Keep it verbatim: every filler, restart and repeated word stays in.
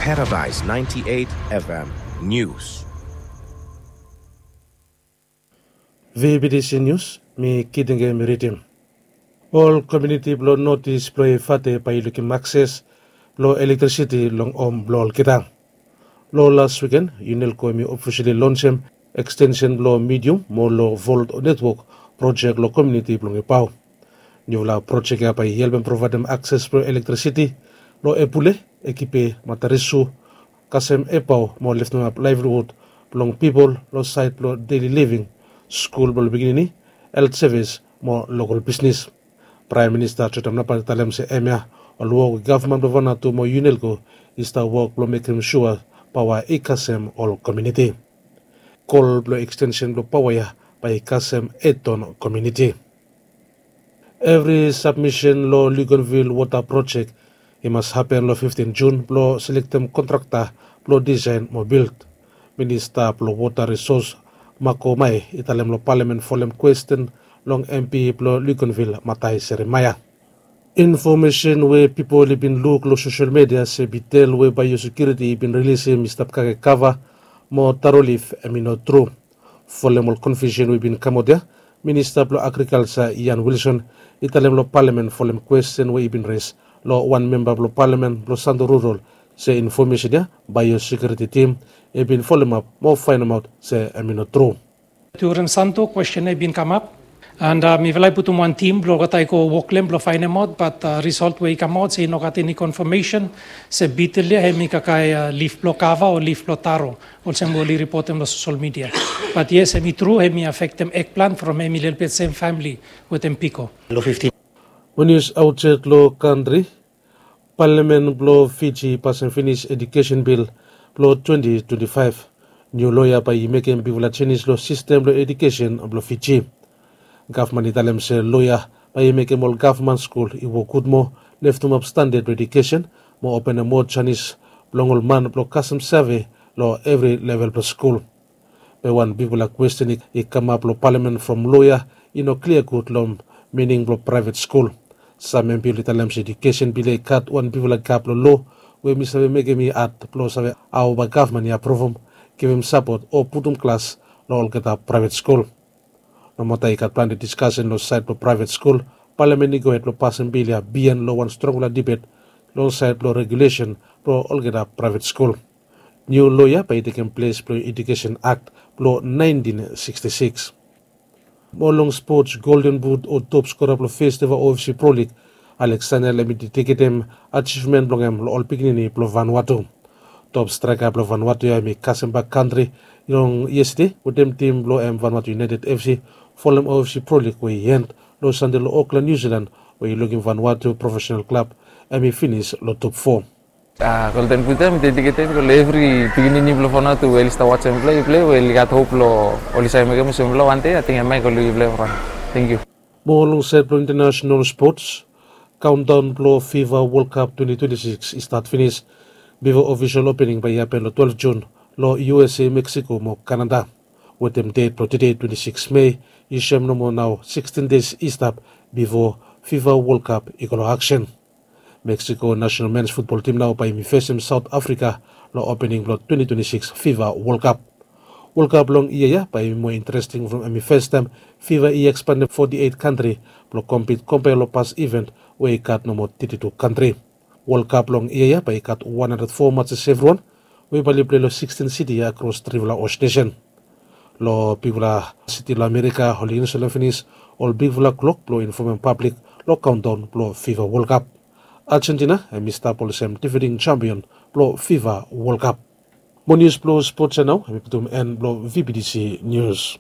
Paradise ninety-eight F M News. V B T C News, mi Kidenge mi ridim. Ol komuniti blong North East blong Efate bae i lukim akses blong elektrisiti long hom blong olgeta. Long las wiken, Unelco hemi ofisali lonsem ekstensen blong medium mo low volt netwok projek long komuniti blong Epao. Niufala projek ya bae i helpem provaedem akses blong elektrisiti long Epule, Ekipe, Matarisu, kasem Epao mo leftemap laevliwud blong pipol long saed blong deli living, skul blong pikinini, helt sevis mo lokol bisnis. Praem Minista Jotam Napat i talem se hemia ol wok we gavman blong Vanuatu mo Unelco i stap wok blong mekem sua paoa i kasem ol komuniti. Kol blong ekstensen blong paoa ya bae i kasem Eton komuniti. Evri sabmisen long Luganville wota projek i mas hapen long fiftin Jun blong selektem kontrakta blong disaen mo bild. Minista blong Wota Risos, Mako Mae, i talem long palamen folem kwesten long M P blong Luganville, Matai Seremaia. Infomesen we pipol i bin luk long sosel midia se bitel we baeosekiuriti i bin rilisim i stap kake kava mo taro lif, hemi no tru. Folem ol konfiusen we i bin kamaot ya, Minista blong Agrikalja, Ian Wilson, i talem long palamen folem kwesten we i bin res long wan memba blong palamen blong Santo Rural, se infomesen ya baeosekiuriti tim i bin folemap mo faenemaot se hemi no tru. During Santo, kwesten ya i bin kamap, and mifala i putum wan tim blong olgeta i go wok long hem blong faenemaot, bat risolt we i kamaot se i no gat eni konfamesen se bitel ya hemi kakae lif blong kava o lif blong taro, olsem we oli ripotem long sosel midia. Bat yes, hemi tru, hemi afektem ekplan from hemi lelebet sem famili wetem piko. Long fiftin. Mo nius aotsaed long kantri, palamen blong Fiji i pasem finis ejukesen bil blong twenti twenti faef. Niu loa ya bae i mekem bigfala jenis long sistem blong ejukesen blong Fiji. Gavman i talem se loa ya bae i mekem ol gavman skul i wok gud moa, leftemap standad blong ejukesen mo openem moa janis blong ol man blong kasem save long evri level blong skul. Be wan bigfala kwesten i kamap long palamen from loa ya i no klia gud long mining blong praevet skul. Sam M P oli talem se ejukesen bil ya i gat wan bigfala gap long loa we mi save mekem i had blong save hao bae gavman i apruvum, givim sapot o putum glas long olgeta praevet skul. Nomata i gat plante diskasen long saed blong praevet skul, palamen i gohed blong pasem bil ya biaen long wan strongfala dibet long saed blong regulesen blong olgeta praevet skul. Niu loa ya bae i tekem ples blong Ejukesen Akt blong naentin siksti siks. Mo long spots, Golden Boot o top skora blong fes eva O F C Pro League, Alex Daniel, hemi dediketem ajivmen blong hem long ol pikinini blong Vanuatu. Top straeka blong Vanuatu ya hemi kasem bak kantri long yestade wetem tim blong hem Vanuatu United F C folem O F C Pro League we i end long Sande long Auckland, New Zealand, we i lukim Vanuatu profesenal klab hemi finis long top fo. Golden Boot ya mi dediketem long evri pikinini blong Vanuatu we oli stap wajem plei, plei, we oli gat hop blong oli save mekem olsem blong wan dei ating hemia i go long plei. Tenkyu. Mo long saed blong intanasenal spots, kaondaon blong fifa World Cup twenti twenti sikis i stat finis. Bifo ofisol opening bae i hapen long twelef Jun long U S A, Meksiko mo Kanada. Wetem det blong tede, twenti sikis Mei, i soem nomo nao sikstin deis i stap bifo fifa World Cup i go long aksen. Meksiko nasenal mens futbol tim nao bae hemi fesem Saot Afrika long opening blong twenti twenti sikis fifa World Cup. World Cup long yia ya bae hemi moa interesting from hemi fastaem fifa i ekspandem foti eit kantri blong kompit, kompea long pas iven we i gat nomo teti tu kantri. World Cup long yia ya bae i gat wan handred fo matses evriwan, we bae oli plei long sikstin siti akros trifala host nesen. Long bigfala siti long Amerika oli instalem finis ol bigfala klok blong infomem pablik long kaondaon blong fifa World Cup. Ajentina hemi stap olsem difending jampion blong fifa World Cup. Mo nius blong spots ya nao hemi putum en blong V B T C Nius.